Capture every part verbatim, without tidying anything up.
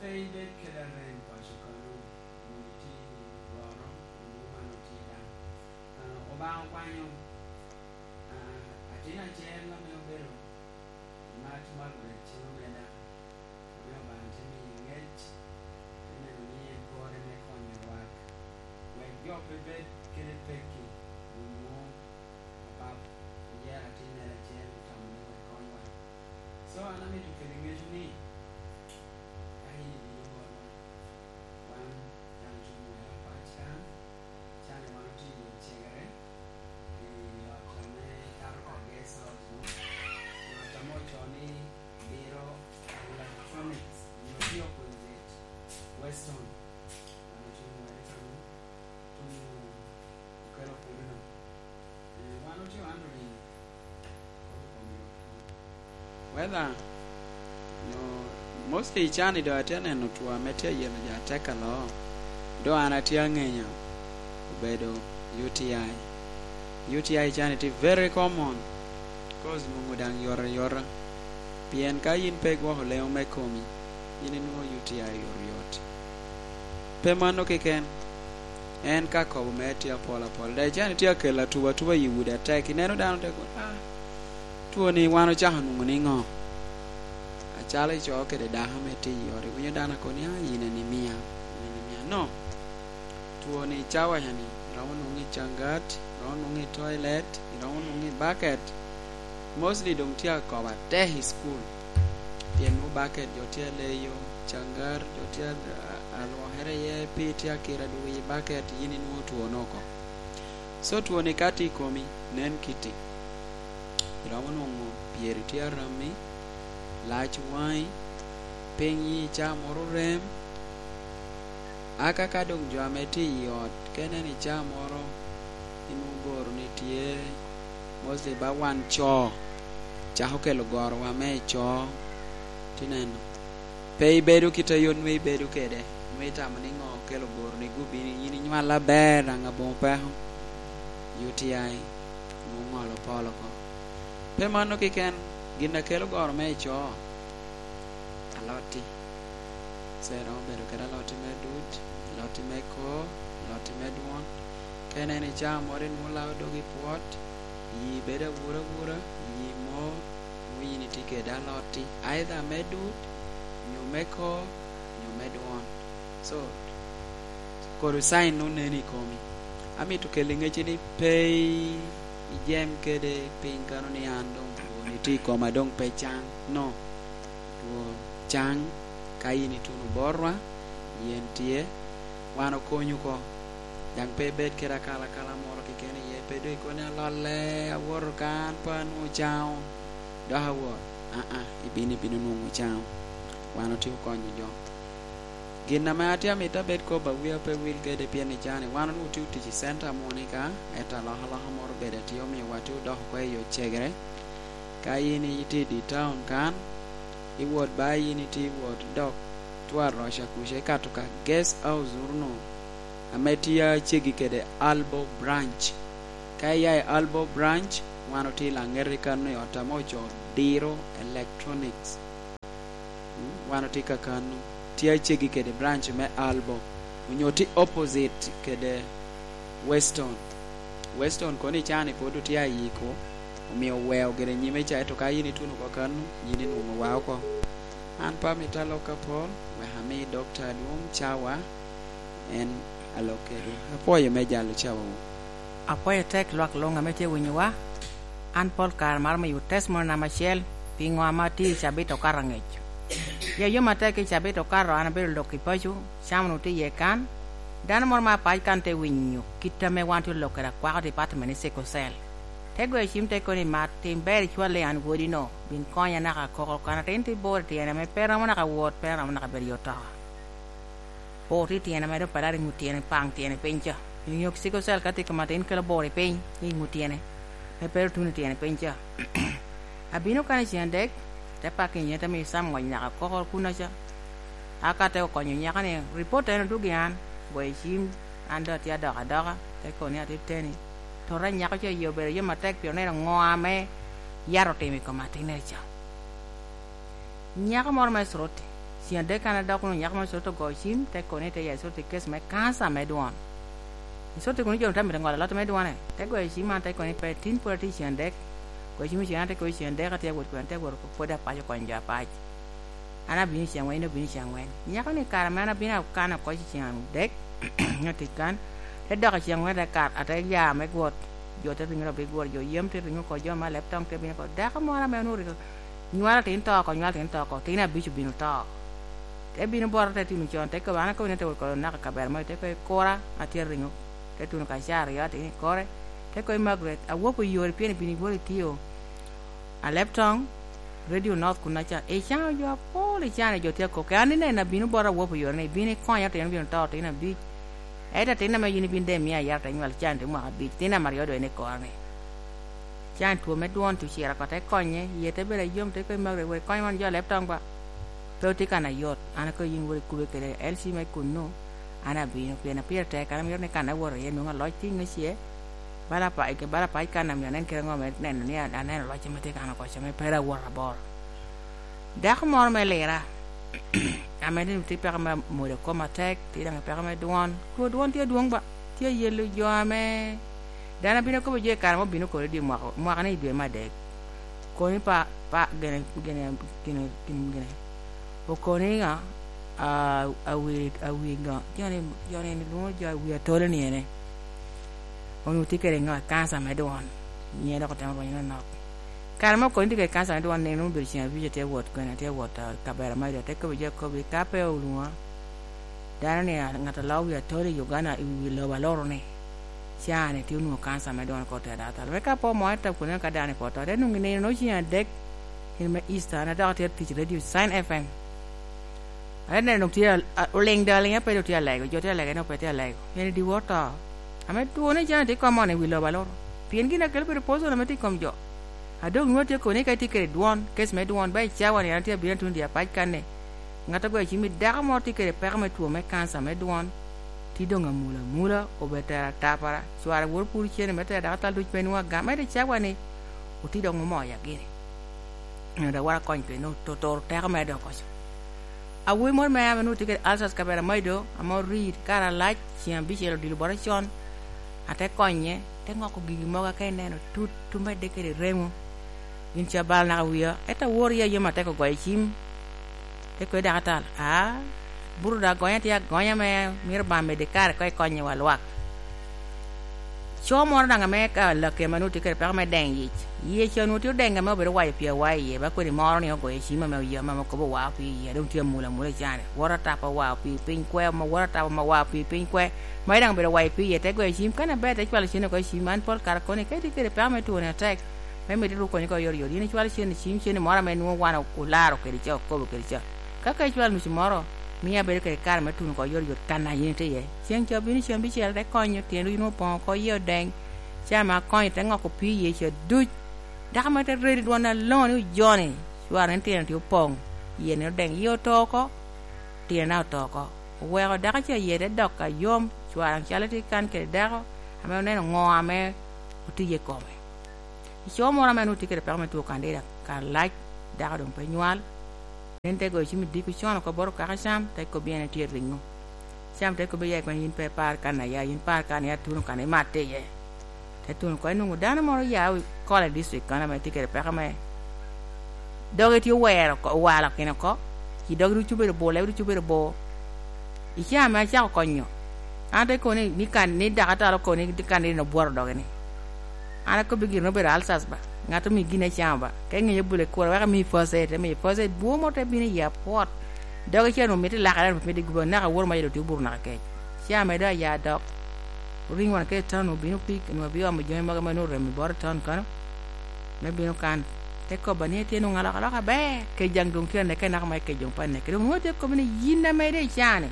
Pe ibed kede arem paco kano, onyo iti goro, onyo wan otye daŋ. Ah, Obaŋa okwanyo, ah, atin acel ame obedo Mat Margaret Cen Omeda, ame Obaŋa tye miye ŋec, te neno ni en pore me konyo lwak, wek jo pe bed kede pekki, onyo apap, oye atinnere acel otamo ni wek konywa. So, an amito keli ŋeco ni, ka in ibino botwa, wan daŋ otum wela pac kan, can wan otye i ot cegere, i ot ame kato ka guest house no, i ot ame ocoo ni Biro Electronics, nyo tye opposite Weston. Wan otum wela kan, otum okelo kuno. Eh, wan otye wan ri. Whether, no, mostly can i doŋ atye neno two ame tye ayelo jo atek alo, doŋ an atye aŋenyo obedo U T I. U T I can i tye very common, cause moŋo daŋ yot ayota. Pien ka yin pe igwoko leŋo me komi, yin inwoŋo U T I yot yot. Pe mano keken, en ka kobo mere tye apol apol. Dok can i tye akelo atuba atuba i udi atek. Ineno dano te kono, "Ah, two ni wan ocako nwoŋo niŋo?" Acalo i co kede dako ame tye i ot, iwinyo dano kono ni, "Ah, yin anemia, yin anemia." No. Two ni cawa yani, iromo nwoŋo i caŋgat, iromo nwoŋo i toilet, iromo nwoŋo i bucket. Mostly doŋ tye akobo atek i school. Pien nwoŋo bucket jo tye aleyo, caŋgat jo tye a-, a-, alwokere iye, pii tye akiro adwogo i bucket, yin inwoŋo two no oko. So two ni ka tye i komi, nen kiti. Iromo nwoŋo pyeri tye arammi, lac waŋi, piny i caa moro rem. Aka ka doŋ jo ame tye i ot, ka inen i caa moro, inwoŋo goro ni tye, mostly ba wan co, cako kelo gorowa me i co, tineno. Pe ibedo kit a yot nwe ibedo kede, nwe itamo ni ŋo okelo goro ni gubini, yin inywal aber, daŋ aboŋo peko, U T I, nwoŋo ŋolo pol oko. Pe mano keken, gin a kelo goro me i co, alotti. Cero obedo kede alotti me dut, alotti me kor, alotti me dwon. Ka ineno i caa moro inwoŋo lao dogi pwot, yi bedo awura awura, yi mo, nwoŋo yin itye kede alotti, either me dut, nyo me kor, nyo me dwon. So, kodi sign no nen i komi. Amito keli ŋecci ni pe i-, ijem kede piny kano ni an doŋ two ni tye i koma doŋ pe caŋ. No. Two caŋ, ka yin ituno botwa, yen tye, wan okonyi oko. Daŋ pe ibed kede akalakala moro keken iye, pe doŋ ikoni alolle, awoto ka an pe anwoŋo caŋo, dok awot. Aa, ibino, ibino nwoŋo caŋo. Wan otye okonyo jo. Gin ame atye amito abed kobo awia pe wil kede pien i caa-ni, wan onwoŋo otye otic i center moni ka, ento alokaloka moro obedo atye omio watye odok oko i yo cegere. Ka in itye i dye town kan, iwot ba in itye iwot dok Twa Roca kuca, ikato ka guest house unu ame tye aceggi kede Albo Branch. Ka ia i Albo Branch, wan otye i laŋete kano i ot ame ocoo Diro Electronics. Mm, wan otye ka kano. Tye aceggi kede branch me Albo, onyo tye opposite kede Weston. Weston kono i caa-ni pwod otye ayiko, omio oweo gire nyime ca, ento ka yin ituno oko kano, yin inwoŋo wa oko. An pe amito alok apol, wek ami Dokta adwoŋ cawa, en alok kedwu. Apwoyo me jalo cawawu. Apwoyo tek lwak luŋ ame tye winyowa. An pol kare amaro miyo testimony namba acel, piŋo ame atye i cabit okato angec. Pi yom atek i cabit okato an abedo lok i paco, cam onwoŋo tye iye kan. Dano moro me apac kan te winyo kit ame wan tye lok kede akwako department i sickle cell. Te goyo cim te kono ni, "Mat, tim ber icwalli an wodi-no, bin konya naka koko kan atin tye bor i tyene ame pe romo naka wot, pe romo naka bedo i otoka." Bor tye i tyene ame dok pe laro i ŋut tyene, paŋ tyene piny ca. Onyo sickle cell ka tye kama tin kelo bor i piny, i ŋut tyene, me pe otuno tyene piny ca. Abino kan i ceng adek, te pako i nyen, te miyo Sam ŋoc nyaka koko kunaca. Aka te okonyo nyaka ni, ripot en odwogo i an, goyo cim, an doŋ atye adok adoka, te kono ni atye teni. Tota nyako ca iye obedo yom atek pi oneno ŋo ame yat otimo i kom atinere ca. Nyako moro me Soroti, Ceng adek kan adok wunu nyako mo, Icurut ogoyo cim, te kono ni te ya Icurut i kec me kanca me dwon. Icurut kono jo te mito ŋolo alot me dwone, te goyo cim man, te kono ni pe, tin pwod atye i ceng adek. Goyo cim i ceng adek, te kono i ceng adek atye awot kwene, te wot pwod apaco konyo jo apac. An abino i ceng angwen, in obino i ceng angwen. Nyako ni kare ame an abino akano oko i ceng adek, atic kan, te dok i ceng angwen, te kat, ate ya me gwot, jo te riŋo, obigwot, jo yam te riŋo oko, jo me Alebtong te bino oko. Dako moro ame onwoŋo rik nywalo atin to oko, nywalo atin to oko, tin abic obino to. Te bino bota, te timo con, te kobo, an akobo ni te wot kolo naka i kabera mo, te kobo i kura, atye riŋo. Te tuno ka ca aryo, atin ikore. Te kobo i Margaret, awopo yore pien ibino iwor itio Alebtong, Radio North kun aca. Icano jo apol, icano jo tye akok. An ineno abino bota awopo yore ni, ibino ikonya, tin obino to, tin abic. Ento atin ame yin ibin de imia yara te nywal can te mwaka abic, tin ame aryo doŋ en ikore ni. Can two me dwon tucira oko te konye, iye te bedo ayom, te kobo i Margaret, wek ikony wan jo Alebtong ba. Pe otye kan ayot, an akobo yin wot ikube kede L C me kunnu, an abino, pien apire tek, an amito ni kan awot iye, nwoŋo aloc tye i ŋece, bala pa-, bala pac kan amito anen kite ŋo me neno ni an-, aneno loc ame tye kan oko, ame pe awot abor. Dako moro me Lira, ame ni tye peko me amwodo kom atek, tye daŋ i peko me dwon, two dwon tye adwoŋ ba, tye ayelo jo ame dano abino kobo jo i kare mo bino kodi i mwaka, mwaka ni i dwe me adek. Koni pa, pa, gine, gine, gine, gine, gine. Okoni ŋa, a, awi, awi ŋa, joni, joni lwoŋo jo awi atole ni ene. Onwoŋo tye kede ŋo, kanca me dwon. Nyiŋe dok otemo rwenyo nok. Kare ma okoni tye kede kanca me dwon, nino obedo ceng abic, atye wot kwene, atye wot, a, kabera me, atye kobo jo akobi, ka pe olwoŋa, dano ni, a, ŋat a loo wi atole i Uganda, i wi lobo aloro ni, caa-ni tye onwoŋo kanca me dwon oko, otero dano tal. Me ka po mo, ata kun ka dano ni pe oto, te nwoŋo nino nwoŋo ceng adek, in me Easter, an adok atye tic Radio Sign F M. Ate neno dok tye al-, a-, oliŋ dok aliŋa, pe dok tye alego, jo tye alego, en pe tye alego. En i dyewor to. Ame dwone can tye i kom ot i wi lobo aloro. Pien gin a kelo bedo poison ame tye i kom jo. A dok nwoŋo tye koni ka itye kede dwon, kec me dwon, ba i cawa ni an atye abino atuno dye apac kanne. Ŋat a goyo cim i dako mo tye kede peko me two me kanca me dwon, tye doŋ amula amula, obed tero atapara, cware woro pur cene me tero dako atal duc pe nwoŋo agam, ento i cawa ni, otye doŋ omoya gini. Ento dok wara kony pien otoro teko mere dok okoco. Awobi moro mere ame nwoŋo tye kede ulcers kabera mac do, ame orit kare alac, ceng abicel odilo bota con, ate konye, te ŋoko gigi mogo aka ineno tut, tumedde kede remo. Gin ca balo naka wia, ento awor iya yom atek ogoyo cim. Te kobo dako atal, "Aa, buto dok agonya tye agonya ame myero Obaŋa medde kare ko ikonyiwa lwak." Co moro daŋ ame ka lakema nwoŋo tye kede peko me deŋ yic. Yic onwoŋo tye odeŋ ame obedo wayo pii awaya iye, ba kwene moro ni ogoyo cim ame oyam ame okobo wa opii iye, doŋ tye amul amul i caa-ni. Wot atapa wa opii piny kwe, ma wot atapa ma wa opii piny kwe. Ma daŋ obedo wayo pii iye, te goyo cim, ka na ber te cwalo cen oko i cim. An pol kare kono, ka itye kede peko me twoni atek, me mito ruk konyi oko oyotoyot, yin icwalo cen i cim, cen moro ame nwoŋo wan olaro kede ca, okobo kede ca. Ka ka icwalo nucu moro, mio abedo kede kare me tuno oko oyotoyot kan a yin itye iye. Ceng ca obino ceng abicel, te konyo, tyen ducu nwoŋo opoŋ oko, iye odeŋ. Ca ame akonyo, te ŋoko pii iye ca duc. Dako mere te redo dwon aloŋo ni, "Ojoni, cwara ni tyen tye opoŋ, iye ni odeŋ, iye oto oko, tyena oto oko." Oweko dako ca iye te dok ayom, cwara calo tye kan kede dako ame oneno ŋo ame otiye i kome. I co moro ame nwoŋo tye kede peko me two kandida, kare lac, dako doŋ pe nywal. En te goyo cim i diko con oko bot okaka cam, te kobbi en etye riŋo. Cam te kobbi, "Ya, kwene yin pe ipar kan aya, yin par kan, ya tuno kan imat tye iye." Te tuno oko, enwoŋo dano moro ya i Kole district kan ame tye kede peko me doge tye owero oko, owalo kine oko, ci doge ducu obedo bor, lebe ducu obedo bor. I caa ame acako konyo, an te kono ni, ni kan, ni dako atalo kono ni kan ni obworo doge ni. An akobbi gire ni obedo ulcers ba. Ŋat omio gin ecamo ba. Ka iŋeyo bule kura, wek imi first aid, te miyo first aid, bwor mo te bino i airport. Doge ca onwoŋo mito ilakere, mito iguba, naka woro ma yelo tye obuto naka kec. Caa ame doŋ aya dok. Oringo wan kede town, obino pi, onwoŋo abiomo jami mogo ame onwoŋo oremo i bot i town kano. Me bino kan. Te kobba ni, "Tye nwoŋo alokaloka aber. Kec daŋ doŋ tye aneke naka ma kec doŋ pe aneke." Doŋ nwoŋo tye kobbi ni, "Yin ame doŋ i caa-ni,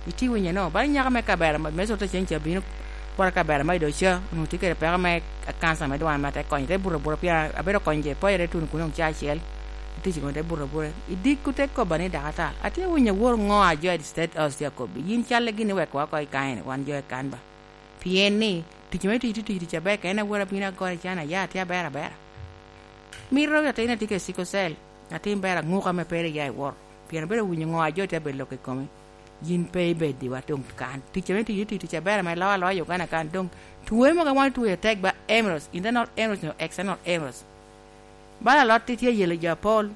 itye winyo no?" Bala nyako me kabera ma, me Sota cen ca bino, bot kabera ma i doŋ ca, onwoŋo tye kede peko me kanca me dwan ma te konyo. Te buto abuta pien abedo konyo jo i pocere tuno kun doŋ caa acel. Atic i kome te buto abuta. I diko te kobba ni, "Dakatal, atye winyo awor ŋo a jo i State House tye akobbi? Yin calle gin iweko wa oko i kany-ni, wan jo i kan ba." Pien ni tic ma itio tye tic, tic aber, ka en awot abino agoro i can aya, atye aber abera. Mito atin atye kede sickle cell, atin ber aŋuka ame pe rik ya iwot. Pien obedo winyo ŋo a jo tye abedo lok i komi. Yin pe ibed i wa doŋ kan. Tic ame tio tio tic aber ame loyo aloya i Uganda kan doŋ. Tuwe mogo wan tuwe tek ba Emirates, internal Emirates nyo external Emirates. Bala lot tye yelo jo apol.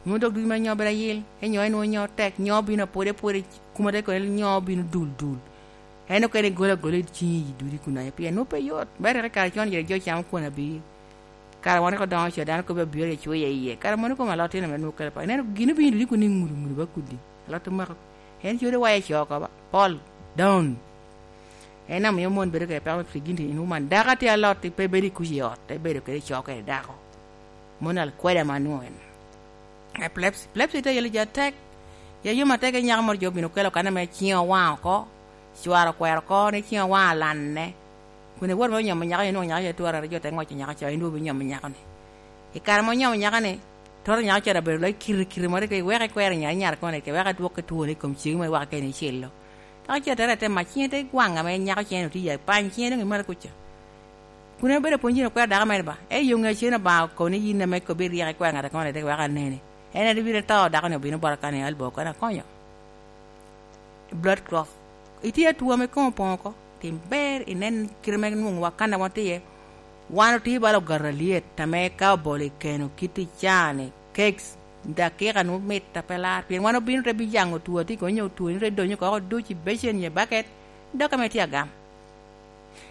Nyo dok dul me nyo bera yil, enyo enwo nyo tek, nyo bino pwode pwode, kuma te kone nyo bino dul dul. En okene golo agola i cingi i dudi kun aye, pien nwo pe yot. Ber reke kare con jere jo camo kwon abir. Kare wan rik odoŋo ca dano kobbi abiro i cwia iye. Kare mono kome alot tino me nwo kelo pa. Ineno gin obino dudi kun iŋudu ŋudu ba kudi. Alot omako. En code waya co oko ba. Pol. Down. En amiyo mon bedo kede peko pi gin in woman. Dako atye alot pe bedo i kuc i ot. Te bedo kede co kede dako. Mon alkweda ma nwo en. Epilepsy. Epilepsy te yelo jo atek. Ya yom atek i nyako moro jo obino kwelo kan ame ciŋe owaŋ oko. Cwaro okwero oko ni ciŋe owaŋ alanne. Kun iwot me nyomo nyako, inwoŋo nyako ca twara, jo te ŋoco nyako ca, in dwogo binyomo nyako-ni. I kare ma onyomo nyako-ni, toto nyako ca abedo loi kiri kiri moro, iweko ikwero nyare nyare kono, iweko adwokke twone i kom cegi ma iwako kene icillo. Dako ca tere te mac, cinge te gwaŋ ame nyako cinge otye ya, pany cinge doŋ imalo kuca. Kun en obedo apwony cen okwero dako mere ba, e yo ŋe cen Obaŋa okobo ni yin ame kobbi iryeko ikwero ŋat akono, ite weko anene. En adi bino to, dako-ni obino bota kan i albo, kono akonyo. Blood cloth. Itye atwo ame kome opoŋ oko, tim ber inen kite me nwoŋo wa kan a wan tye iye. Wan otye bala ogato alyet, ame ka obolo i keno kit i caa-ni, cakes, dakika nwoŋo mit a pe lar, pien wan obino te bijaŋo two, atye ka onyo two, ni te donyo oko duc i becen, i baket, dok ame tye agam.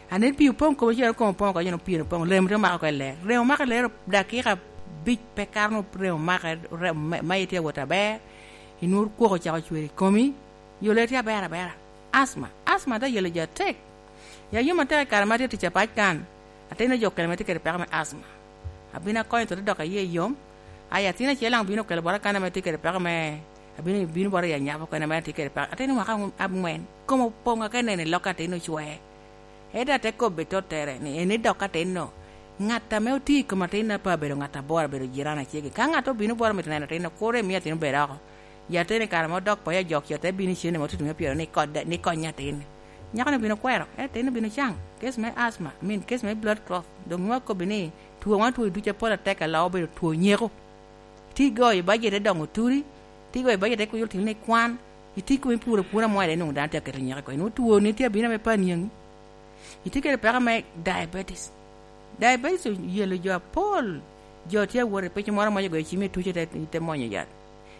Anen pii opoŋ kome, cen kome opoŋ oko, cen pii opoŋ, remo te mako oko i ler. Remo mako i ler dakika abic pe kato, nwoŋo remo mako, remo me, me itye awot aber, inwoŋo kwok ocako cwer i komi, yo ler tye aber abera. Asma, asma te yelo jo atek. Ya yom atek i kare ma atye tic apac kan, atin ojok kede ma tye kede peko me asma. Abino akonyo tote dok aye yom. Ai, atin acel daŋ obino okelo bota kan ame tye kede peko me, abino, bino bota i anyabo kene ame tye kede peko. Atin mwaka aŋwen, kome opoŋ aka nene lok atin ocwe. Ento ate kobbe tottere ni, en idok atinno. Ŋat ame otye i kom atinno pe abedo ŋat abor, abedo jirani acegi. Ka ŋat obino bota mito neno atinno, kur imi atin obed oko. Yateni kare ma odok paco ajok ca te bino i cene ma tutumia pyero ni kod-, ni kony atin. Nyako-ni obino kwero, en atin obino caŋ, case me asthma, I mean, case me blood clot. Doŋ nwoŋo akobbi ni, two wan two ducu apol atek alo obedo two nyeko. Ti goyo bajet te doŋo turi, ti goyo bajet te kuyo tini ni kwan, iti kumi puro pura mo ade nwoŋo dano tye aketo nyeko i kome. Nwoŋo two ni tye abino ame pe aniaŋi. Itye kede peko me diabetes. Diabetes oyelo jo apol. Jo tye awot i pico moro amac ogoyo cim i tuco te, te monyo yat.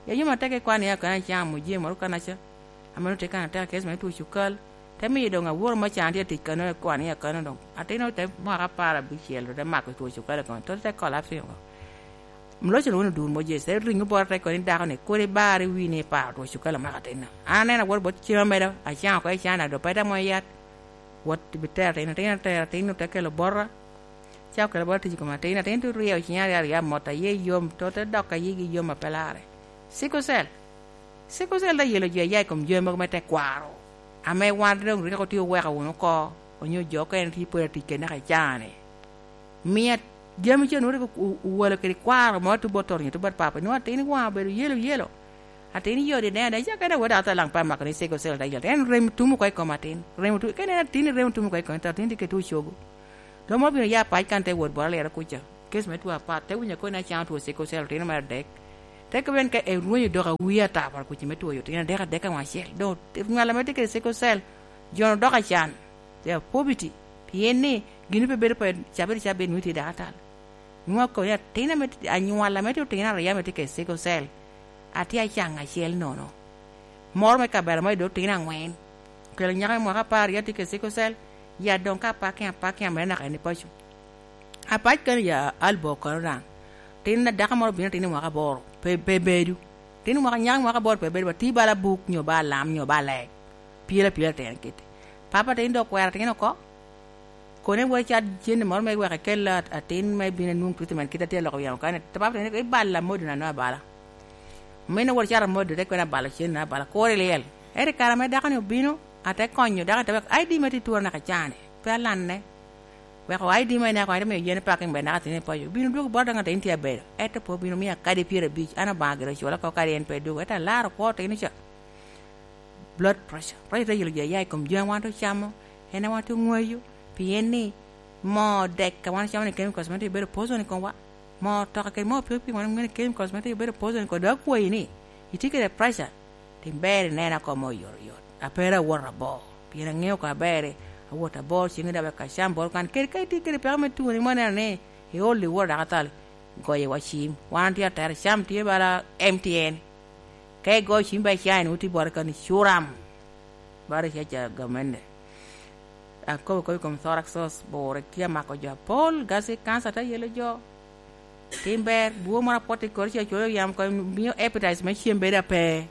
Ya yom atek i kwan i akana camo jami moro kanaca. Ameno tye kan ateka kec me two cukal. Te miyo doŋ aworo ma can tye tic kano i kwan i akana doŋ. Atino te mwaka apar abicel te mako two cukal i kome. Toto te collapse oko. Loco wunu dul mo Jecu, te ringo bot te koni dako-ni, kodi bar i wi ni iparo two cukal omako atin-na. An aneno awot bot cem amedo, acaŋo oko i can, ado pe te monyo yat. Wot bitero atin, atin atero, atin te kelo bota. Ca okelo bota tic i kom atin, atin te ryeyo ciŋe aryo aryo amot, aye yom, to te dok ayigi yom a pe larre. Sickle cell. Sickle cell te yelo jo aya i kom jami mogo me tekwaro, ame wan doŋ rik otye oweko wunu oko, onyo jo okene tye pwod atic kede naka i caa-ni. Miyo jami ca nwoŋo rik o-, o-, owalo kede kwaro mo, tubo to nyo tubo papo, nwoŋo atin waŋe obedo yelo yelo. Atin yodi ne ada, ca kede awot ata laŋ pe amako ni sickle cell disease. En rem tumo oko i kom atin. Rem tu-, kene en atin rem tumo oko i kom, to atin tye kede two cogo. Lo mo obino ya pac kan te wot bot aliro kuca. Case me two apat, te winyo koni acamo two sickle cell, otino mere adek. Te kobbi en ka erwenyo dok awi atapara kuca me two otino adek adek awaŋ acel. Doŋ nywal ame tye kede sickle cell, jo-nu dok acan. They are poverty. Pien ni gin pe bedo pe cabit cabit nwoŋo itye dako atal. Nwoŋo akobo ni atin ame tye, anywal ame tye otino aryo ame tye kede sickle cell, atye acaŋ acel nono. Moro me kabera mo i dog otino aŋwen. Okelo nyako me mwaka apar aryo atye kede sickle cell, ya doŋ ka apaki apaki amere naka en i paco. Apac kani ya albo kono daŋ. Tin dako moro obino tin i mwaka aboro, pe, pe bedo. Tin i mwaka, nyako i mwaka aboro pe bedo, ba ti bala buk, nyo ba lam, nyo ba leg. Pyel apyela tene kite. Papa tin dok kwero atin oko. Kone wot icat cente moro me wek ikel at-, atin me bino enwoŋ treatment kit atye aloko yamo kane. Papa tin ibalo amodi na nongo abala. Mine wot icat amodi te kwena abalo cente na abala. Kuro ilyel. Ento i kare ame dako-ni obino, ate konyo dako-ni te wek I D me tye tworo naka i caa-ni. Pe alanne. Weko I D me naka, I D me yen paki me naka tini paco. Bino dwogo bota dok atin tye abedo. Ento pe obino mia kadi pyerabic. An Obaŋa gire ocula oko kadi en pe dwogo. Ento alaro kwo tino ca. Blood pressure. Pressure te yelo jo aya i kom jami wan te ocamo, en wan te ŋweyo, pien ni moo dek a wan ocamo ni chemicals me tye bedo poison i komwa. Moo toka kede moo pikipiki wan ŋweno chemicals me tye bedo poison i komwa. Dok akwayi ni, Itye kede pressure, tim ber inena oko me oyotoyot. A pe rik awot abor, pien aŋeo oko aber, awot abor, cen daŋ wek acam bot kan. Kadi ka itye kede peko me tuŋoni, mom ineno ni iol iwot dakatal, goyo wa cim. Wan otye atera, cam tye bala M T N. Ka igoyo cim ba icayo, nwoŋo tye bot kan icuram. Bot icaca gamente. Akobo kop i kom thorax sauce, bur tye amako jo apol, gastric cancer te yelo jo. Tim ber, bwor moro apot i kori ca, cwalo yam oko, mio appetite me cem bedo ape.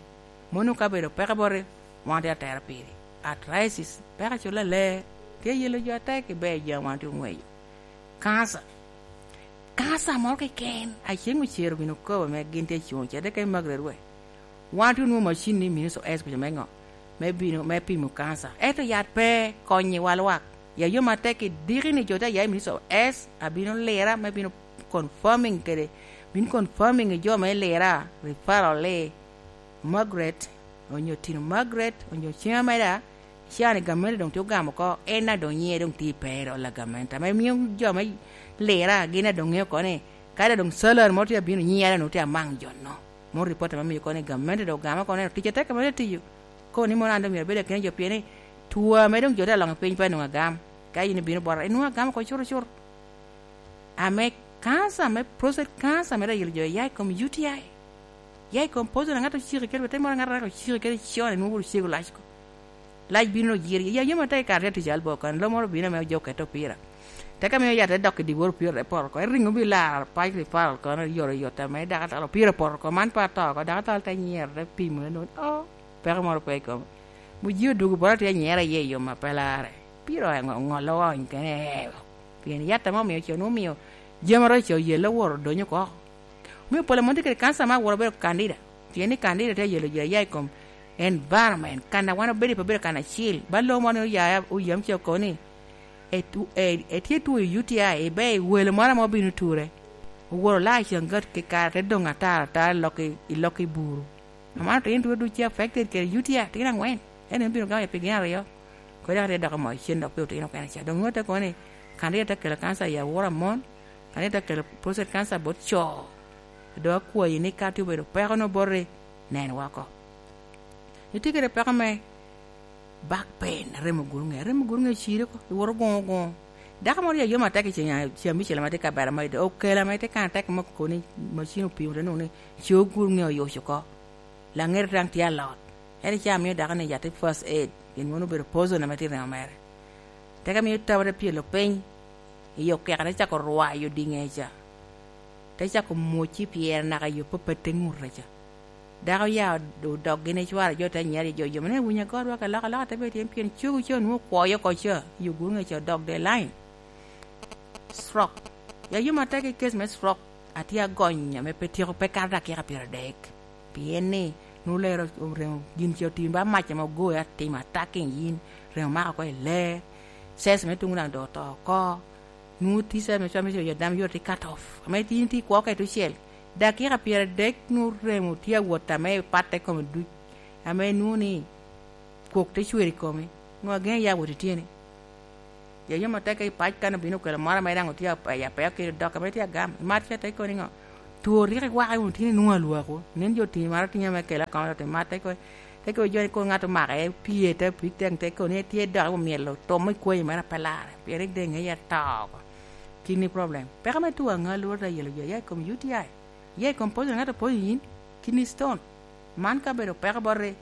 Mano ka bedo peke boti, wan tye atero piri. Arthritis, peke culo aler, tye yelo jo atek i ber jami wan tye oŋweyo. Cancer. Kanca moro keken, a cen ocero gin okobo ame gin tye cuŋ, cite ka i Margaret we. Wan tye onwoŋo macin ni Ministry of Health kuca me ŋo? Me bino, me pimo kanca. Ento yat pe, konnyiwa lwak. Ya yom atek i diki ni jo te ya i Ministry of Health, abino lira, me bino confirming kede, bino confirming i jo me lira, referral li, Margaret, onyo tino Margaret, onyo cen ameda, can i gamente doŋ tye ogamo oko, en a doŋ nyiŋe doŋ tye i pere olo gamente. Ame mio jo me lira gin a doŋ ŋeo oko ni, kadi a doŋ salary moro tye abino, nyiŋe a doŋ tye amaŋ jo no. Moro report ame mio oko ni gamente doŋ ogamo oko, neno tic atek ame tye tiyo. Kobo ni mono an doŋ myero abed akene jo, pien ni two ame doŋ jo tye aloŋo piny pe nwoŋo agam. Ka in ibino bota, inwoŋo agam oko cuto cuto. Ame kanca, me prostate cancer, mere ayelo jo, ya i kom U T I. Ya i kom poison, ŋat ociki kede, te moro ŋat ociki kede con, inwoŋo bot ocego lac ko. Lac bino ojiri, ya yom atek i kare tye tic alboko, kan lo moro bino ame ojo kete opira. Te ka mio yat te dok i dyewor opira te poto oko, iriŋo bi laro pac referral kono, yoro yot ame dakatal opira poto oko, man pe ato oko, dakatal te nyero, te pimo, te nwoŋo, oh, peko moro pe i kome. Mujia odwogo bota tye anyera iye i yo ma pe larre. Piro ŋo-, ŋolo ony kene, eh, pien yat ame omio co, nwoŋo omio jami aryo ca oyelle oworo odonyo oko. Omio pol a mon tye kede kanca me awura obedo candida. Pien ni candida tye ayelo jo aya i kom environment, kan a wan obedo i, pe obedo kan acil. Ba lo moro ni oya, oyam ca oko ni, etu-, e-, etye two U T I, ibe i welo moro ame obino ture. Oworo laa i cangat, ki kare te doŋ atara atara i lok i, i lok i buru. Amano otino ducu ducu tye affected kede U T I, tino angwen. En obino gamo pi gin aryo. Kodi dok te doko mo cen dok pi otino okene ca. Dok nwoŋo te kono ni, candida te kelo kanca i awura mon, candida te kelo prostate cancer bot co. Dok akwayi ni ka tye obedo peko no boti, nen woko. Itye kede peko me back pain, remo gurŋe, remo gurŋe ciri oko, iwoto guŋo guŋo. Dako moro ya yom atek i ceng, ceng abicel ame tye kabera ma okelo ame tye kan atek mo, koni macin opimo, te nwoŋo ni co gurŋe oyoc oko. Laŋete daŋ tye alot. Ento ca mio dako ni yat i first aid, pien mano obedo poison ame tye i remo mere. Te ka mio tabo te pyelo piny, i okeka te cako rwayo diŋe ca. Te cako mwoc i pyere naka i yo papat te ŋute ca. Dako ya od-, odok gin i cware, jo te nyere, jo yom ni awinyo ago dwoko alok alok, te bedo tyen pien cogo ca onwoŋo okwoyo oko ca, i ogurŋe ca odok de line. Stroke. Ya yom atek i case me stroke, atye agony ame pe tyeko, pe kato dakika pyeradek. Pien ni, nwoŋo lero oremo, gin ca otimo ba mac ame ogoyo, atimo attacking yin, remo mako oko i ler, cells me tuŋ daŋ doŋ oto oko, nwoŋo tye cells me cwam, me cwam, dam yot i cut off. Ame in tye ikwo oko i tucel, dakika pyeradek nwoŋo remo tye awot ame ipatte kome duc, ame nwoŋo ni kwok te cwer i komi, nwoŋo ageŋi ya wot ityeni. Ya yom atek i pac kan obino okelo moro ame daŋ otye apeyo apeya kede dok ame tye agam. Imat ca te koni ŋo? Two rik iwako wunu tini nwoŋo alwako. Nen jo tini maro tinyo me kela kong, to imat te koni, te koni jo ni kono ŋat omake, pye te pig teŋ te koni tye dok omyelo tom i kwanyi mere pe larre. Pien rik dong iŋeyo ato oko. Kidney problem. Peko me two aŋa lworo te yelo jo ya i kom U T I. Ya i kom poison ŋat opoyo yin, kidney stone. Man ka bedo peko boti,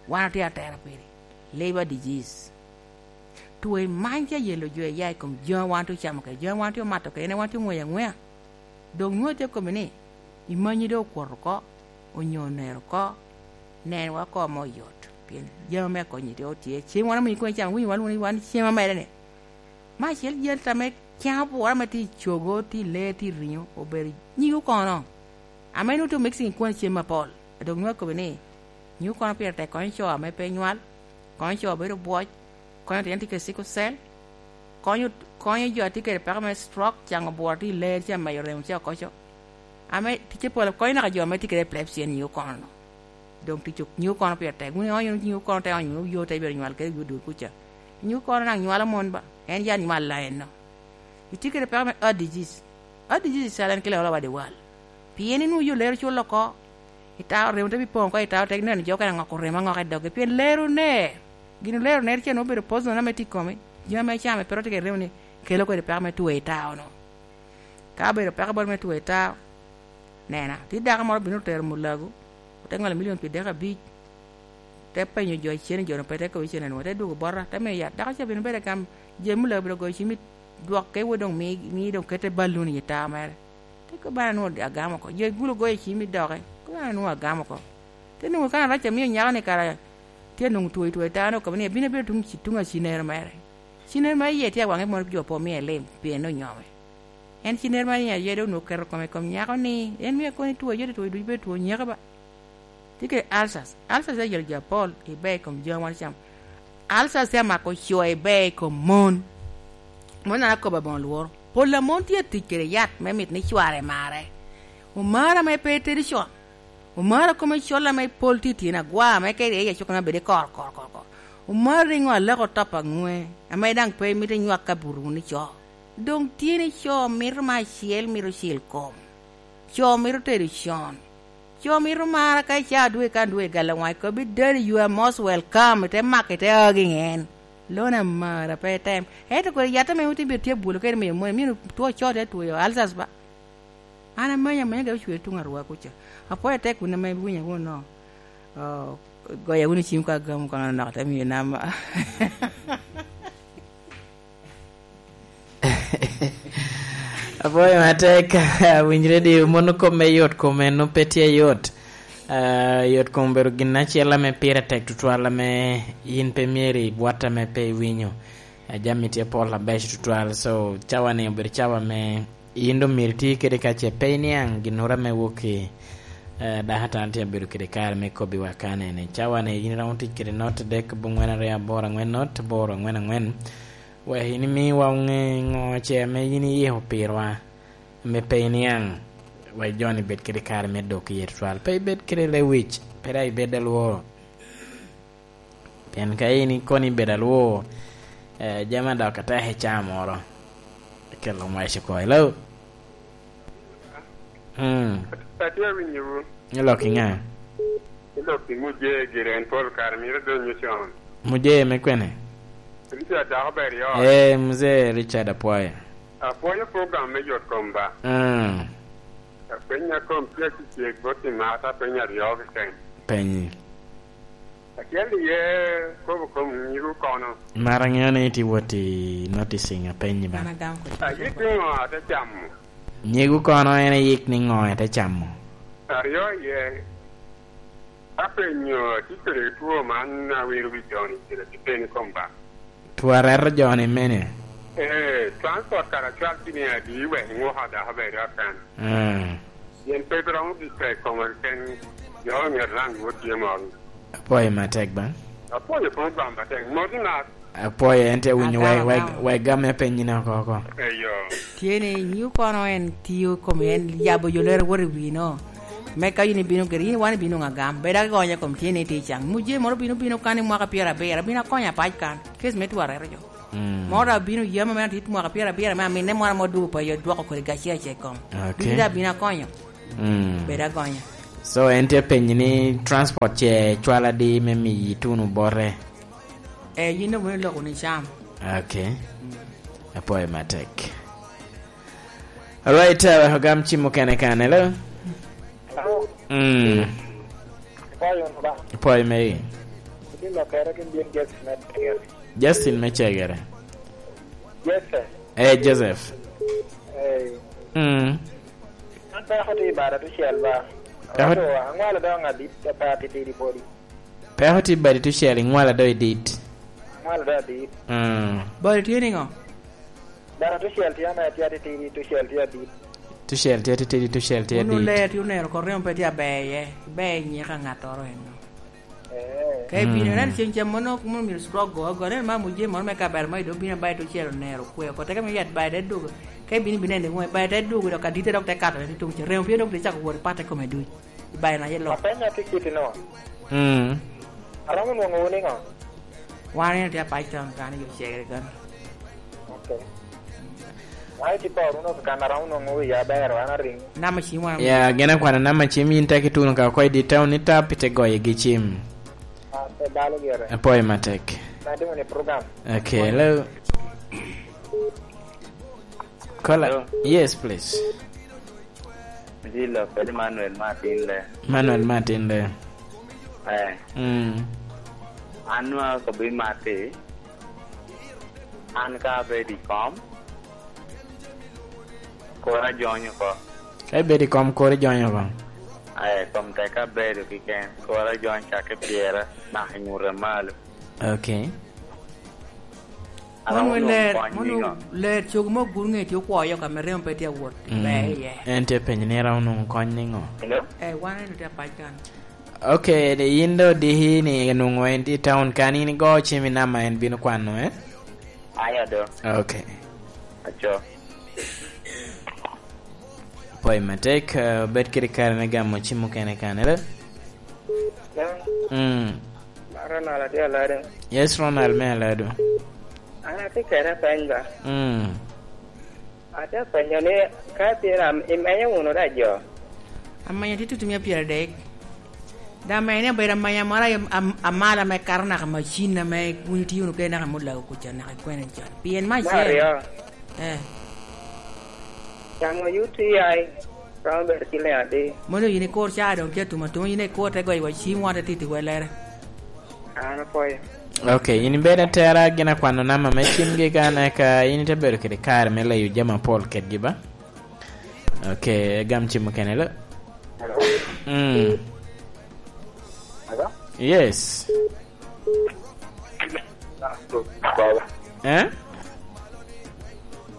wan otye atera piri. Liver disease. Two i many tye ayelo jo iya i kom jami wan tye ocamo kede, jami wan tye omato kede, ne wan tye oŋweyo aŋweya. Dok nwoŋo tye komi ni, i manyi dong okwot oko, onyo onero oko, nen wa oko mo oyot. Pien jami me akonyi tye otye. Cem wan omiyi kono icamo, winyo wan, wan cem amede ni. Me acel yat ame camo bwura ame tye i cogo, tye i lee, tye i rinyo, obedo nyig okono. Ame nwoŋo tye mixing i kwon cem apol. Dok nwoŋo akobo ni, nyig okono pire tek konyo co ame pe nywal, konyo co bedo bwoc, konyo tyen tye kede sickle cell, konyo, konyo jo a tye kede peko me stroke, caŋo bwura tye i lee, tye ameyo remo tye oko co. Ame ticce pol konyo naka jo ame tye kede epilepsy, en nyig okono-nu. Doŋ tic ok nyig okono pire tek. Wun ionyo nyig okono te onyo wunu yo te bedo nywal kede yo dul kuca. Nyig okono daŋ nywalo mon ba. En ya nywal la enno. Itye kede peko me heart disease. Heart disease cal en kelo olowa diwal. Pien inwoŋo yo lero cul oko. I tao remo te bi poŋ oko i tao, te neno jo okene aŋoko remo aŋoka i doge, pien lero ner. Gin olero ner cen obedo poison ame tye i komi, jami ame icamo pe romo tye kede remo ni kelo kodi peko me two i tao-nu. Ka obedo peko bot me two i tao, nena, tye dako moro obino otero mulago, ote ŋolo milion pyerdek abic, te penyo jo i cen, jo-nu pe te kobo i cen anwo, te dwogo bota, te miyo yat. Dako ca bino bedo i gam, jami mulago obedo goyo cim i dwoke, wot doŋ mi, mi doŋ kete balun i tao mere. Te kobba ni nwoŋo agamo oko. Jo i gulo goyo cim i doke, kobba ni nwoŋo agamo oko. Te nwoŋo kan arac amio nyako ni kara tye anwoŋo two i two i tao, ni okobo ni ebino abedo tuŋ ci-, tuŋ acinero mere. Cinero mere iye tye awaŋe, mono jo pe omie lim, pien onyome. En cinero mere ni aye dok onwoŋo keto kome i kom nyako ni, en mio kono two, jo te two ducu bedo two nyeko ba. Tye kede ulcers. Ulcers aye yelo jo apol, ibe i kom jami wan icamo. Ulcers tye amako co ibe i kom mon. Mon an akobo aboŋo lworo. Pol a mon tye atic kede yat me mit ni cware mare. Omara ame pe tedo con. Omara kome col ame pol tye i tyene agwa, ame ka irye iye cuko ni abed i kor, kor, kor, kor. Omara riŋo alako top aŋwe, ame daŋ pe mito nywak ka buto wunu co. Doŋ tye ni co mito me acel, mito cil kom. Co mito tedo con. Co mito mara ka icaa dwe kan dwe galo waŋ, ikobi, "Daddy, you are most welcome," ite mako, ite hugging en. Lon amara pe tem. Ento kodi yat ame wun tye bino tye bwolo kede miyo moni, mino two co te tweyo ulcers ba. An amanya amanya gero cwer tuŋ arwa kuca. Apwoyo tek wun ame iwinyo wunu, oh, goya wunu cim ka agamo kono nok te miyo nama. Apwoyo matek, awinyo redio, mono kop me yot kom en pe tye yot. Ah, yot kom obedo gin acel ame pire tek tutwal, ame in pe myero ibwat ame pe iwinyo. Ah, jami tye pol abeco tutwal, so cawa-ni obedo cawa ame in doŋ myero iti kede ka ce pe iniaŋ ginnoro ame wok i, eh, dako atan tye abedo kede kare me kobbiwa kanene. Cawa-ni in iromo tic kede not adek, abongwen aryo, aboro angwen not, aboro angwen angwen. Wek in imi wa oŋe ŋo ce ame yin iyiko pirwa, ame pe iniaŋ, wek jo-ni bed kede kare me dok iye tutwal. Pe ibed kede lewic, pe daŋ ibed alworo. Pien ka in kono ibedo alwor, eh, jami adok atek i caa moro. Ikelo ngwec oko. Hello? Mm. Atye awinyowu. Ilok i ŋa? Ilok i Muje gire, en pol kare mito donyo con. Muje me kwene? Richard dok obedo i ot. Eh, Mzee Richard, apwoyo. Apwoyo program me yot kom ba. Mm. Apenya kom tye acecek bot i Marta, apenya aryo keken. Penyi. Acel iye kobo kom nyigo kono. Mara ŋeo ni itye wot i noticing, apenyi ba. An agamo kodi. Ayik ni ŋo ate camo? Nyigo kono en ayik ni ŋo ete camo? Aryo iye, apenyo, atye kede two man awiro wi joni, kede tye peny i kom ba. Two areto joni mene? Ee, transport kara cwal kini adi wek ŋuka dok abedo akan. Mm. Pien pe biromo gik ka i koma keken, jo oŋet raŋ wot tye moro. Apwoyo matek ba. Apwoyo program matek. Moti mak. Apwoyo, en te winyo. Agamo, wek, wek, agamo. Wek gamme penyi na oko, oko. Eyo. Tye ni nyiu kono en tiyo kom en yabo jo lero wot i wino. Me ka yin ibino giri, yin wan ibino ŋa gam. Bed agonye kom tye ni tye caŋ. Muje moro bino, bino kan i mwaka pyerabiro, bino akonya pac kan. Kes me twarere jo. Mm. Moro daŋ obino yam ame atit mwaka pyerabiro ame aminne moro ame odwogo pa yo dwoko kodi gaci acel kom. Okay. Bino daŋ bino akonyo. Mm. Bed agonya. So, en tye penyi ni transport ce cwalo adi me miyi tuno bote? Eh, yin dong bino loko ni cam. Okay. Mm. Apwoyo matek. Alright, uh, wek ogam cim mukene kan, hello? Hello. Mm. Pwoyo wunu ba. Pwoyo me i. Itye lokere ki bin Justin me Cegere. Justin me Cegere. Joseph. Eh, Joseph. Eh. Mm. An peko tye i bada tucel ba. Peko. Owaco, aŋwalo doŋ adit, pe atitidi podi. Peko tye i badi tucel, iŋwala doŋ idit. Aŋwala doŋ adit. Mm. Badi tye niŋo? Dano tucel tye ame tye atitidi, tucel tye adit. Tucel tye atitidi, tucel tye adit. Wun oler tye onero kor remo pe tye aber iye. Ber nyika ŋattoro eno. Eh. Ka ibino, mm, ineno cen cam mono, mono myero struggle, go, go, ineno ma muje mono me kabera ma ido bino abayi tucel onero kwe oko, teke me yat bayi te dugo. Ka ibino, ibino neno wonge, bayi te dugo, dok adite dok te kato ne tuŋ ca. Remo pien dok te cako wot i patte kome duc. I bayo na ye lok. Apenyo ati kiti no. Mm. Aromo nwoŋo wunu niŋo? Wan en tye apac town kan, yo cegere kan. Okay. Ai, tipo, Aruno, kan aromo nwoŋo wiya ber, an ariŋo. Namba cim wan. Ya, gin akwano namba cim, yin tek ituno ka oko i di town ni tap, ite goyo gi cim. Ah, pe balo gire. Apwoyo matek. Na timo ni program. Okay, hello. Caller. Hello. Yes, please. Dilo, kadi Manuel Martin le. Manuel Martin le. Eh. Mm. An nwa ko bi mati. An ka abed i kom, kora jony oko. Ka ibed i kom, kora jony oko. Eh, kom tek abedo kiken, kora jony cakke pyera, naka nyuta malo. Okay. Wan wan ler, kony wan niŋo? Ler cog mo gur ŋe tye okwoyo ka mere pe tye awot. Mm. Ber iye. En tye penyo ni rawno nwoŋo kony niŋo? Hello? Eh, wan en tye apac kan. Okay, de yin do diki ni nwoŋo en tye i town kan, in igo cim i namba en bino kwano, eh? Aya do. Okay. Aco. Pwoyo matek, eh, obed kede kare me gamo cim mukene kan, hello? Hello? Mm. Ronald atye alado. Yes, Ronald me alado. An atye kede apeny ba. Mm. Atye apenyo ni, ka tye ram imenyo wunu da jo? Amanya tye tutumia pyeradek. Da amanya ni obedo amanya moro am-, am-, amalo ame kato naka macin ame wun itye wunu kede naka me olago kuca naka i kwene con. Pien mac. Me aryo. Eh. Caŋo U T I romo bedo ciliŋ adi? Mono yin ikur ca doŋ tye atum atuma, yin ikur te goyo wa cim, wan te titi welere. An apwoyo. Okay, in ibedo atera, gin akwano namba me cimgi kan, eka in ite bedo kede kare me leyo jami apol kedgi ba? Okay, gam cim mukene lo. Hello? Mm. Hello? Yes. Eh?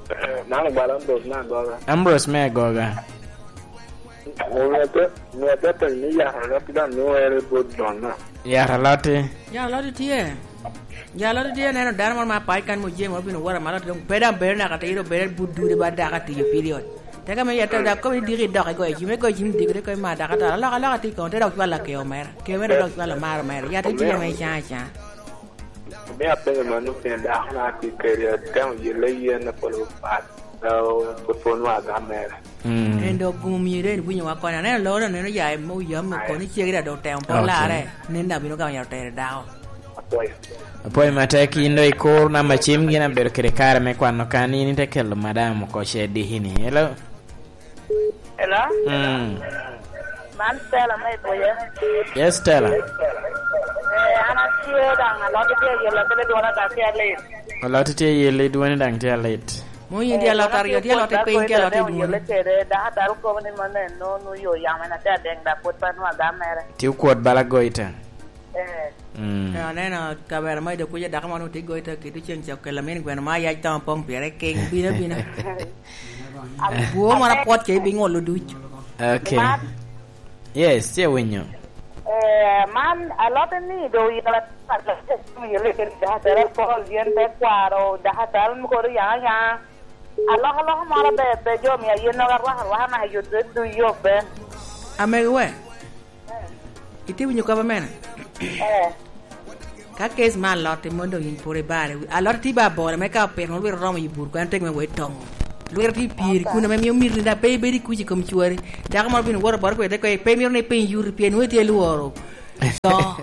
Eh, man ogbalo Ambrose me Agoga. Ambrose me Agoga. Omete, omete penyo ni yat alot daŋ nwoŋo ere bot donna. Yat alot-ti? Yat alot-ti tye. Yat alot-ti tye, aneno dano moro ma apac kan mujee moro obino woro malo doŋ pe daŋ bedo naka tiro, bedo but dude ba dako atiyo period. Teka me yat alot, kobo ni diki idok igoyo cim, igoyo cim diki, diki ma dako atara. Alok, alok ati kono, te dok cwalo akeo mere. Keo mere dok cwalo maro mere. Yat-ti tye ame icaŋ acaŋa. Omio apenyo mano pien dako na tye kede atemo yelle yen apol pat, dok pwod nwa agam mere. Mm. En dok gumo mio deni winyo wa koni. Aneno loro, aneno ya mo yam me koni cegi da dok temo pol lare. Nen da bino gamo yat otere dako. Apwoyo. Apwoyo matek, in do ikur namba cim, gin abedo kede kare me kwano kan, in ite kelo madam oko ce diki ni. Hello? Hello? Mm. Man Stella me Ibuye. Yes, Stella. Eh, an atye daŋ alot tye i yella, kede dwona daŋ tye alit. Alot tye i yella, dwoni daŋ tye alit. Mo yin tye alot aryo, tye alot piny, tye alot i dwoni. Yelle kede, dako ataro kobo ni man en nonu yo yamo en atye adeŋ, dok pwod pe anwoŋo agam mere. Tye okwot bala goita. Eh. Mm. Eh, aneno kavera ma i dog kuca dako moro tye goyo i te kidi ceng ca okelo amin gweno ma ayac taŋ opoŋ pire king, bino, bino. Kwo moro apwot ca ibiŋolo duc. Okay. Man. Yes, tye winyo. Eh, man alote ni do yela, yela kede dakatal Paul, yen te kwaro dakatal mukoro yaŋa yaŋa. Alok, alok moro be, be jo mia yen nok arwak, arwaka naka yo du, du yo ben. Amego we? Itye winyo kop amene? Eh. Ka kes me alot, mon doŋ yin pwod ibare wi. Alot tye ba bora me ka opito, lwito romo i bur, kwan tek me wot toŋo. Lwito tye i pyeri kun ame mio miti ni da pe ibed i kuc i kom cwari. Dako moro bino woto bot kwede, te kwe, pe mito ni piny yuti, pien nwoŋo itye lworo. Co.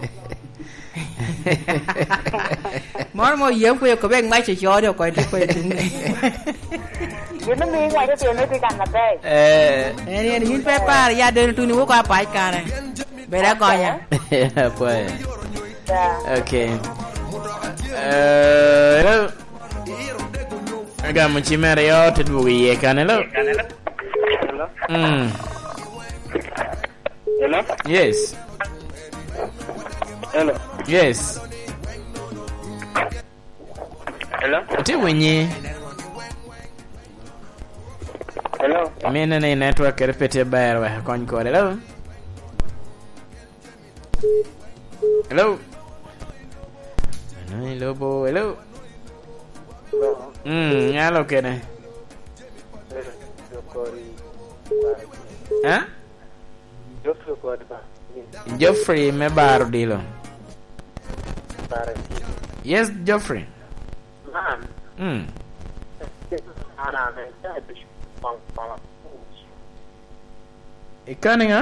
Mon mo yam kwe okobe ŋwac ocoo ni oko itye kwe tuŋ. Gin omiyo iŋwaco pien itye kan maber. Eh. En, en, yin pe par, ya deno tuni woko apac kare. Bed agonya. Apwoyo. Ya. Okay. Eh, hello. Agamo cim aryo, te dwogo iye kan, hello. Hello? Mm. Hello? Yes. Hello? Yes. Hello? Atye winyi. Hello? Mine ni network kede pe tye ber, wek akony kore. Hello? Hello? Ano i lobo? Hello? Hello? Mm, nyalo kene. Eh? Geoffrey kod ba. Geoffrey me bar odilo. Bar. Yes, Geoffrey. Man. Mm. Ikane ŋa?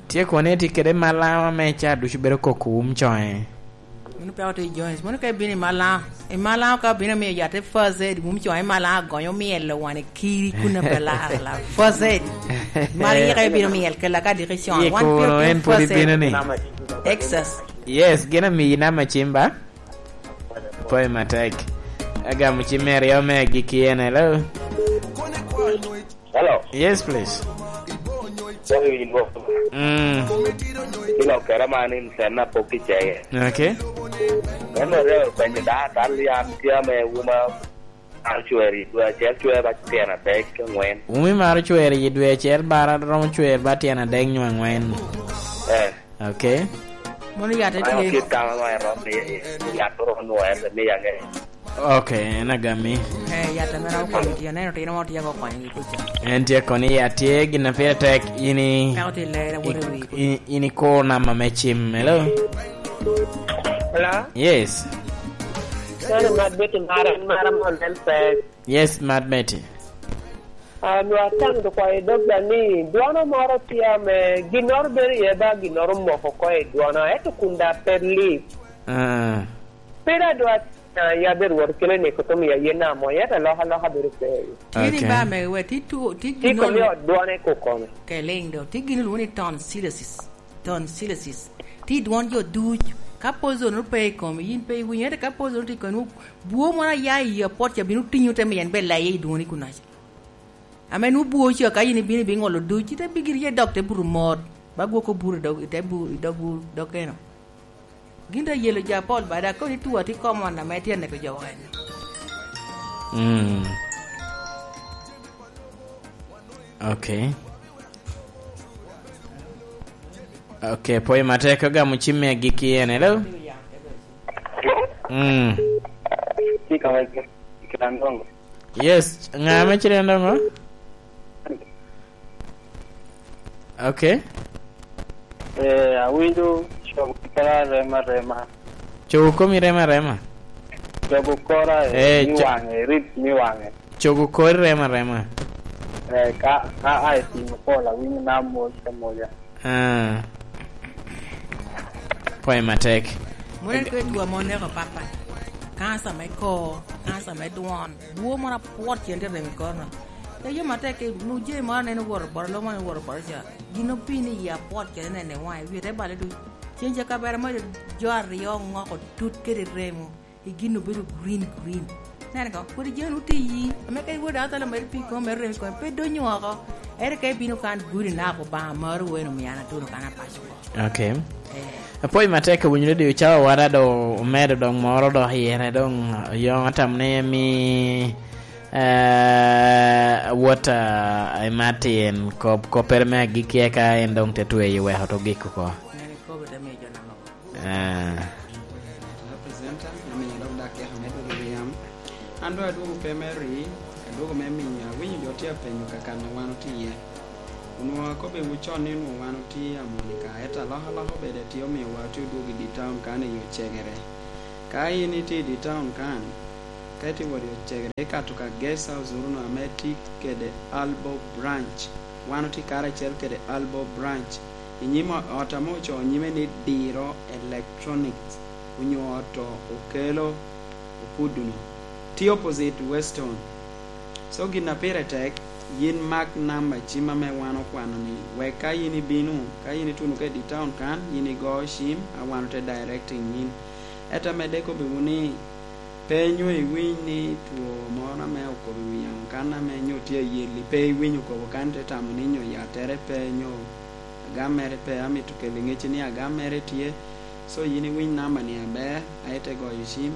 Tye kono ni tye kede malawa me ca ducu bedo koko wum coŋe. Mano pe ote Jones. Mano ka ibino i malawa, i malawa ka obino miyo yat te first aid, wum coŋe i malawa gonyo mielo wane kiri kun ape lar la. First aid. Mar yika ibino miel kela ka diki coŋe. Wan pio kino en pwod first aid ibino ni. Excess. Yes, gin amiyi nama cim ba? Pwoyo matek. Agamo cim me aryo me agikki en, hello? Hello? Yes, please. Sorry, no. Mm. Ilo kera man in sen na pok i cege. Okay. En no re penyo da, kan ya tia me wuma an chweri, dwe acel chwer ba tyen adek ki angwen. Wumi maro chwer i dwe acel, bara romo chwer ba tyen adek nyo angwen. Eh. Okay. Mono yat etye. An kit kama ma erom ni yat oromo nwoŋo en ni yange. Okay, en agami. Eh, yat ame romo konyo tye, aneno tino mo tye ka konyogi kuca. En tye kono i yat tye gin a pire tek, in i-, Peko tye lere, woto i wi. In, in ikur namba me cim, hello? Hello? Yes. Sorry, Mad Betty, mara, mara mo nen pe. Yes, Mad Betty. Ah, nwa taŋ to kwayo dogga ni dwano moro tye ame ginnoro bedo iye ba ginnoro moko oko i dwona, ento kun da pe lip. Ah. Pire adwa, ah, ya bedo wot kene ni koto miya yen amo, ento alokaloka bedo pe. Tye ni Okay. ba me we, ti tu, ti Ti gin komi olu-, ot dwone ko kono. Ke liŋ do, ti gin olwoŋo ni tonsillosis. Tonsillosis. Ti dwon jo duc. Ka poison pe i komi, yin pe iwinyo, ento ka poison ti komi, bwo moro aya i apot ca bino tinyo te miyen be leye i dwoni kunac. Ame nwoŋo bwo ca ka yin ibino ibiŋolo duc, ite bigiri iye dok te buto mot, ba gwoko buto i dog, i te bu-, i dog bu-, dog keno. Gin te yelo jo apol ba, dak koni two ati common ame tye neko jo en. Mm. Okay. Okay, pwoyo matek, ogamo cim me agikki en, hello? Mm. Tye ka wek Kilandongo. Yes, ŋa me Kilandongo? Okay. Eh, awinjo cogo kora rema rema. Cogo komi rema rema? Cogo kora, eh, Eh, mi co-, waŋe, rip mi waŋe. Cogo kori rema rema? Eh, ka, ka a i tim pol, awinyo na moc amoca. Ah. Pwoyo matek. Mono en kede two ame oneko papat. Kanca me kor, kanca me dwon. Bwo moro apwot cen te remo i kor-nu. Pe yom atek, nwoŋo jami moro aneno owoto bot, lok moro owoto bot ca. Gin obino i yie apwot cen, nene waŋe, wie te bale duc. Cen ca kavera moro jo aryo oŋoko tut kede remo. I gin obedo green, green. Nen ko, kodi jami otiyi. Ame ka iwod a thalo mere pi kom, mere remo i kom, pe donyo oko. Ere ka ibino kan gudi na Obaŋa maro weno mi an atuno kan apaco ko. Okay. Eh. Apwoyo matek ka winyo radio cawa wara do omedo dong moro dok yere dong yoŋ atam ni mi, eh, wot, ah, i Martin kop, koppere me agikki eka en dong te tweyo i weko to gik oko. Nene kobo te miyo jo namo. Ah. Presenter, me miyo lok dak keka me dwogo i yam. An doŋ adwogo pe me ri, adwogo me miyo, awinyo jo tye apenyo kakan a wan otye iye. Onwoŋo akobbiwu con ni onwoŋo wan otye Amonica, ento alokaloka obed atye omiowa atye odwogo i dye town kan i yo cegere. Ka in itye i dye town kan, ka itye wot i yo cegere, ikato ka guest house orono ame tye kede Albo Branch. Wan otye karacel kede Albo Branch. I nyim ot ame ocoo nyime ni Diro Electronics, onyo ot to Okelo Okuduno. Tye opposite Weston. So gin a pire tek, yin mak namba cim ame wan okwano-ni, wek ka yin ibino, ka yin ituno ka i dye town kan, yin igo cim, a wan ote directing yin. Ento amedde kobbiwu ni, pe nyo iwiny ni two moro ame okobo i wi yamo kan ame nyo tye ayelli, pe iwinyo kobo kan te tamo ni nyo yattere pe, nyo agammere pe, amito kelo i ŋecci ni agammere tye. So yin iwiny namba-ni aber, a ite goyo cim,